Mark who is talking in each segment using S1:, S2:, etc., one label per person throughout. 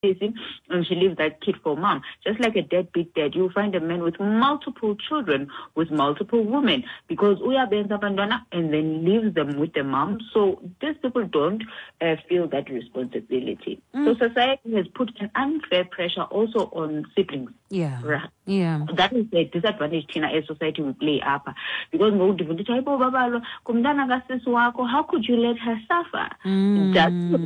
S1: And she leaves that kid for mom. Just like a deadbeat dad, you'll find a man with multiple children, with multiple women, because uyabenza abantwana and then leaves them with the mom. So these people don't feel that responsibility. So society has put an unfair pressure also on siblings. Right. That is the disadvantage thina as society we play apha. Because ngoku ndiva ndithi, hayibo babalwa ngumntana kasisi wakho, how could you let her suffer? That's what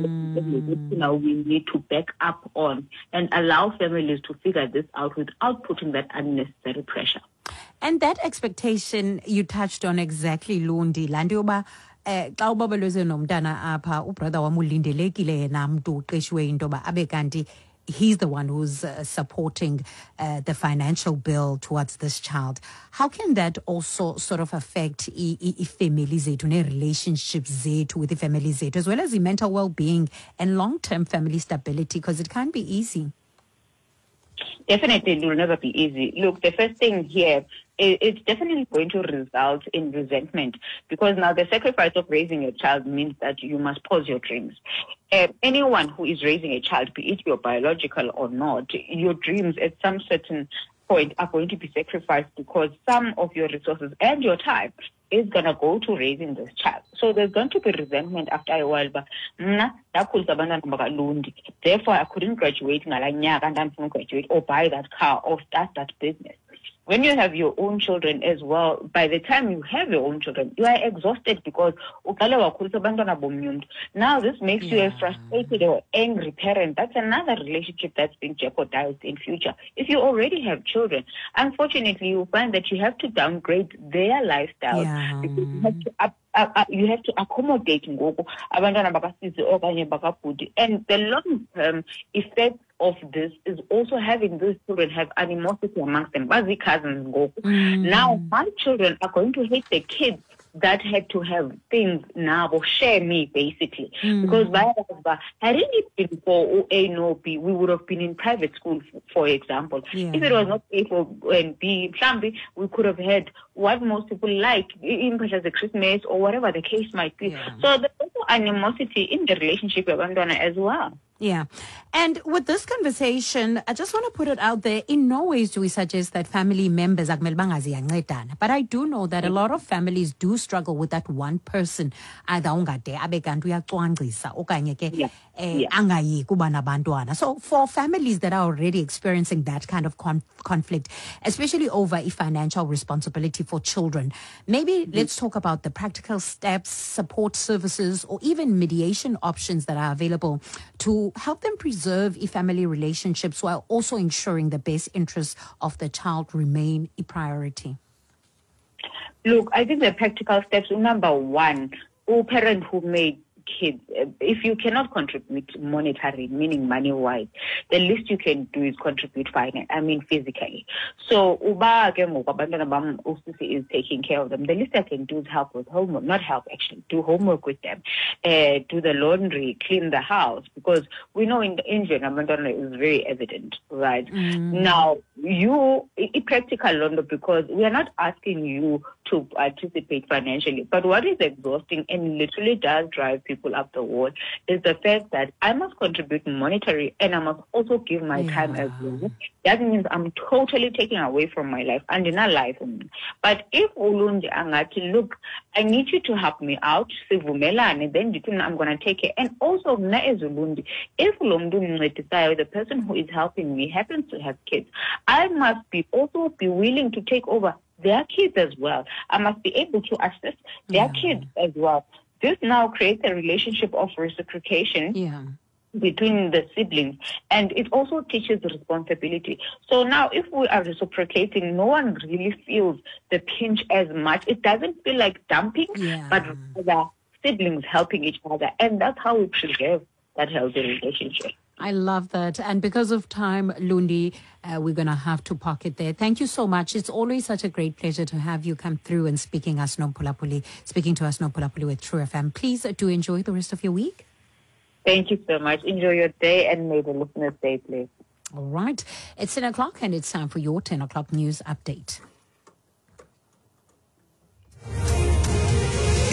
S1: thina we need to back up on and allow families to figure this out without putting that unnecessary pressure.
S2: And that expectation you touched on exactly, Lundi, laa nto yoba xa ubabelweze nomntana apha, ubrother wam ulindelekile yena mntu uqeshiwe into yoba abe kanti he's the one who's supporting the financial bill towards this child. How can that also sort of affect i-family zethu nee-relationships zethu with i-family zethu, as well as the mental well-being and long-term family stability? Because it can't be easy.
S1: Definitely, it will never be easy. Look, the first thing here, it's definitely going to result in resentment, because now the sacrifice of raising a child means that you must pause your dreams. Anyone who is raising a child, be it your biological or not, your dreams at some certain point are going to be sacrificed, because some of your resources and your time is going to go to raising this child. So there's going to be resentment after a while. But mna, ndakhulisa abantwana bakaLundi. Therefore, I couldn't graduate ngalaa nyaka ndandifuna ugraduate or buy that car or start that business. When you have your own children as well, by the time you have your own children, you are exhausted because uqale wakhulisa abantwana bomnye umntu. Now this makes you a frustrated or angry parent. That's another relationship that's being jeopardized in future. If you already have children, unfortunately, you find that you have to downgrade their lifestyles because you have to up, you have to accommodate ngoku abantwana bakasisi okanye bakabhuti. And the long-term effect of this is also having those children have animosity amongst them. Bazi cousins ngoku. Now my children are going to hate the kids that had to have things now, or share me basically. Because by had it been for A no B, we would have been in private school, for example. If it was not A for and B, mhlambi, we could have had what most people like, in as a Christmas or whatever the case might be. So there's also animosity in the relationship with abantwana as well.
S2: And with this conversation, I just want to put it out there. In no ways do we suggest that family members akumele bangaziyancedana. But I do know that a lot of families do struggle with that one person. Either ungade abe kanti uyacwangcisa okanye ke, angayi kuba nabantwana. So for families that are already experiencing that kind of conflict, especially over a financial responsibility for children, maybe let's talk about the practical steps, support services, or even mediation options that are available to help them preserve family relationships while also ensuring the best interests of the child remain a priority.
S1: Look, I think the practical steps, number one, all parent who made kids, if you cannot contribute monetarily, meaning money-wise, the least you can do is contribute physically. So, uba ke ngoku abantwana bam, usisi is taking care of them, the least I can do is help with homework, not help actually, do homework with them, do the laundry, clean the house, because we know in the Indian, abantwana is very evident, right? Now, you, practical laundry, because we are not asking you to participate financially, but what is exhausting and literally does drive people up the wall is the fact that I must contribute monetary and I must also give my time as well. That means I'm totally taking away from my life and in a life. But if Ulundi angathi, look, I need you to help me out, sivumelane, then you can, I'm going to take it. And also, mna as Ulundi, if lo mntu undincedisayo, the person who is helping me happens to have kids, I must be also be willing to take over their kids as well. I must be able to assist their kids as well. This now creates a relationship of reciprocation between the siblings, and it also teaches responsibility. So now if we are reciprocating, no one really feels the pinch as much. It doesn't feel like dumping, but rather siblings helping each other, and that's how we preserve that healthy relationship.
S2: I love that. And because of time, Lundi, we're going to have to park it there. Thank you so much. It's always such a great pleasure to have you come through and speaking us Nomphulaphuli, speaking to us Nomphulaphuli with True FM. Please do enjoy the rest of your week.
S1: Thank you so much. Enjoy your day, and may the listeners stay blessed.
S2: All right. It's 10 o'clock and it's time for your 10 o'clock news update.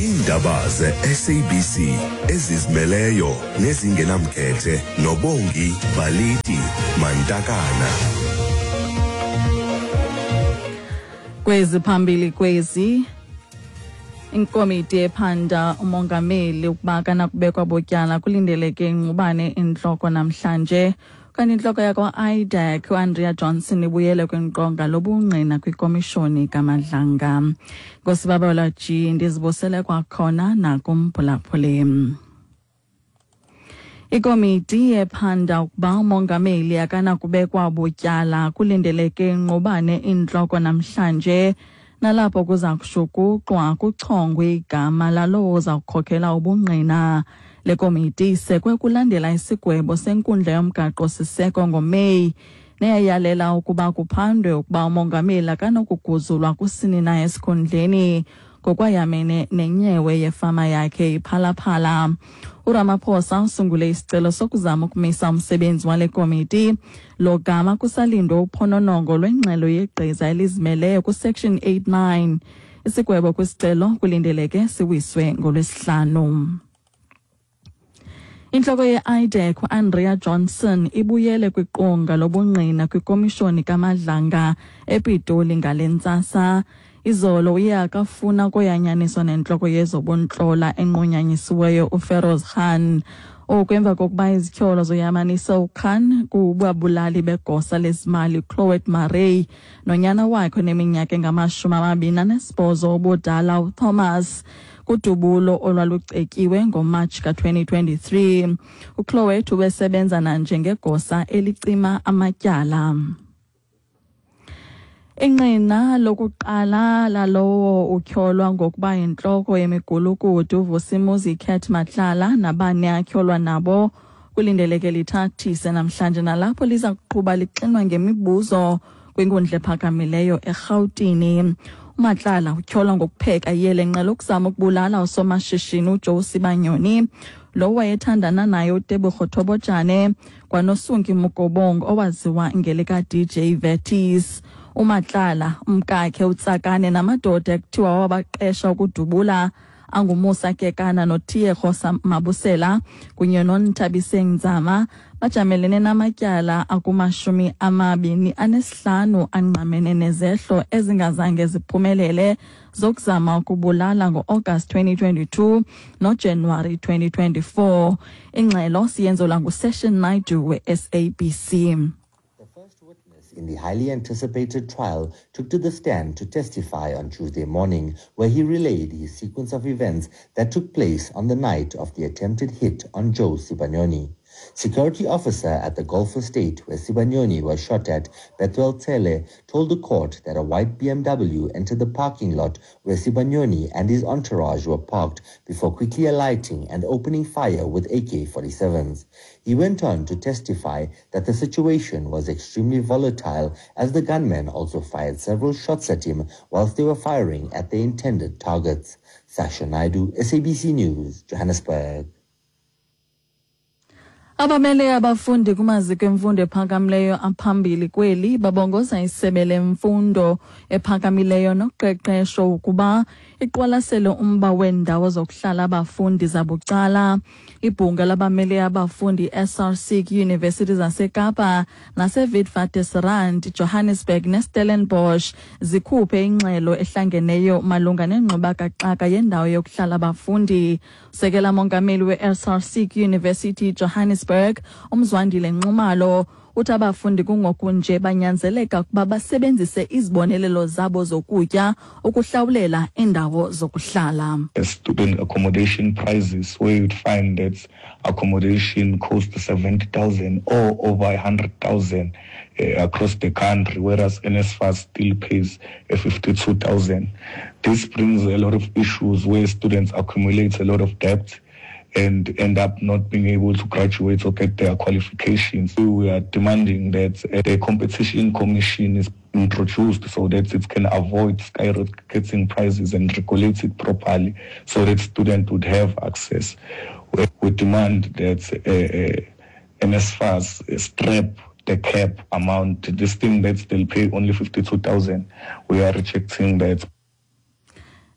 S3: Iindaba ze-SABC ezizimeleyo nezingenamkhethe noBongi Baliti Mantakana.
S4: Kwezi phambili kwezi inkomiti ephanda umongameli ukuba kanakubekwa butyala kulindeleke ingqubane intloko namhlanje. Kanti intloko yakwa-IDAC uAndrea Johnson ibuyele kwinqonga lobungqina kwikomishoni kaMadlanga. Ngosibabela G ndizibusele kwakhona nakumphulaphuli. Ikomiti ephanda ukuba umongameli akanakubekwa butyala kulindeleke ingqubane intloko namhlanje, nalapho kuza kushukuxwa kuchongwe igama lalowo uza kukhokela ubungqina. Le komiti isekwe kulandela isigwebo senkundla yomgaqo-siseko ngoMeyi neyayalela ukuba kuphandwe ukuba umongameli akanokuguzulwa kusini na esikhundleni ngokwayamene nenyewe yefama yakhe iPhalaphala. URamaphosa usungule isicelo sokuzama ukumisa umsebenzi wale komiti lo gama kusalindwe uphononongo lwengxelo yegqiza elizimeleyo kuSection 89. Isigwebo kwisicelo kulindeleke siwiswe ngoLwesihlanu. Intloko ye-IDAC uAndrea Johnson ibuyele kwiqonga lobungqina kwikomishoni kaMadlanga ePitoli ngale ntsasa. Izolo uye akafuna koyanyaniswa nentloko yezobuntlola enqunyanyisiweyo uFeroz Khan. Oku emva kokuba izityholo zoyamanisa uKhan kubabulali begosa lezimali Chloet Murray nonyana wakhe oneminyaka engama-28 ubudala uThomas kudubulo olwalucetyiwe ngoMatshi ka-2023. UChloet ubesebenza nanjengegosa elicima amatyala. Ingqina lokuqala lalowo utyholwa ngokuba yintloko yemigulukudu uVusimuzi Cat Matlala nabane atyholwa nabo kulindeleke lithathise namhlanje, nalapho liza kuqhuba lixinwa ngemibuzo kwinkundla ephakamileyo eRhawutini. UMatlala utyholwa ngokupheka iyelenqe lokuzama ukubulala usomashishini uJoe Sibanyoni, lo wayethandana naye uTebogo Thobojane, kwanoSunki Mugobongo owaziwa ngelika-DJ Vertis. UMatlala, umkakhe uTsakane namadoda ekuthiwa wabaqesha ukudubula anguMusa Kekana noTiego Mabusela kunye noNthabiseng Nzama bajamelene namatyala aku-25 angqamene nezehlo ezingazange ziphumelele zokuzama ukubulala ngo-August 2022 noJanuwari 2024. Ingxelo siyenzelwa nguSession Naidu we-SABC.
S5: In the highly anticipated trial took to the stand to testify on Tuesday morning, where he relayed his sequence of events that took place on the night of the attempted hit on Joe Sibanyoni. Security officer at the golf estate where Sibanyoni was shot at, Bethuel Tele, told the court that a white BMW entered the parking lot where Sibanyoni and his entourage were parked before quickly alighting and opening fire with AK-47s. He went on to testify that the situation was extremely volatile as the gunmen also fired several shots at him whilst they were firing at their intended targets. Sasha Naidu, SABC News, Johannesburg.
S4: Abamele abafundi kumaziko emfundo ephakamileyo aphambili kweli babongoza isebe lemfundo ephakamileyo noqeqesho ukuba iqwalasele umba weendawo zokuhlala abafundi zabucala. Ibhunga labamele abafundi SRC kwiiyunivesithi zaseKapa naseWitwatersrand, Johannesburg neStellenbosch zikhuphe ingxelo ehlangeneyo malunga nengxubakaxaka yendawo yokuhlala abafundi. Usekela mongameli we-SRC kwiYunivesithi Johannesburg uMzwandile Nxumalo uthi abafundi kungokunje banyanzeleka ukuba basebenzise izibonelelo zabo zokutya ukuhlawulela indawo zokuhlala.
S6: Student accommodation prices, where you'd find that accommodation costs 70,000 or over 100,000 across the country, whereas NSFAS still pays 52,000. This brings a lot of issues where students accumulate a lot of debt and end up not being able to graduate or get their qualifications. We are demanding that the Competition Commission is introduced so that it can avoid skyrocketing prices and regulate it properly so that students would have access. We demand that NSFAS strap the cap amount, this thing that they'll pay only 52,000. We are rejecting that.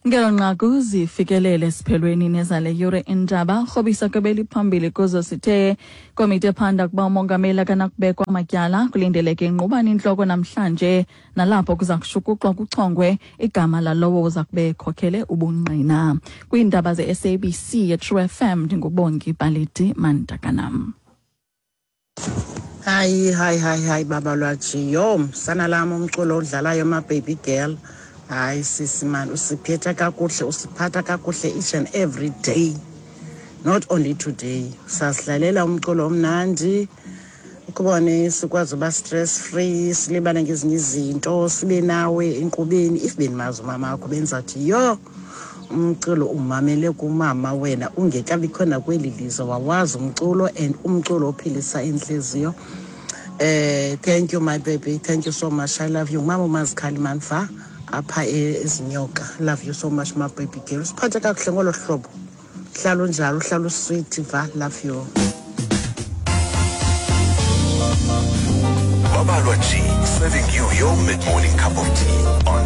S4: Ngelo nqaku zifikelele esiphelweni nezale yure indaba. Rhobisa kwebeli phambili kuzo sithe komiti ephanda kuba umongameli akanakubekwa amatyala kulindeleke ingqubana intloko namhlanje, nalapho kuza kushukuxwa kuchongwe igama lalowo uza kube ekhokhele ubungqina. Kwiindaba ze-SABC yeTrue FM, ndinguBongi Baliti Mantakanam.
S7: Hayi, hayi, hayi, hayi, baba lwaji, yho, msana lam, umculo odlalayo, ma-baby girl, hayi sisi mani, usiphetha kakuhle, usiphatha kakuhle each and every day, not only today. Sasidlalela umculo omnandi ukubone sikwazi uba stress free, silibale ngezinye izinto, sibe nawe enkqubeni. If bendimazi umama wakho, bendizawuthi yho, umculo umamele kumama wena ungekabikho nakweli lizwe, wawazi umculo and umculo ophilisa intliziyo. Thank you, my baby, thank you so much, I love you. Ngumama uMazikhali manfa apha eZinyoka. Love you so much, my baby girl, usiphathe kakuhle ngolo hlobo, hlala unjalo, uhlala usweet va, love you.
S3: Babalwa G, serving you your mid-morning cup of tea on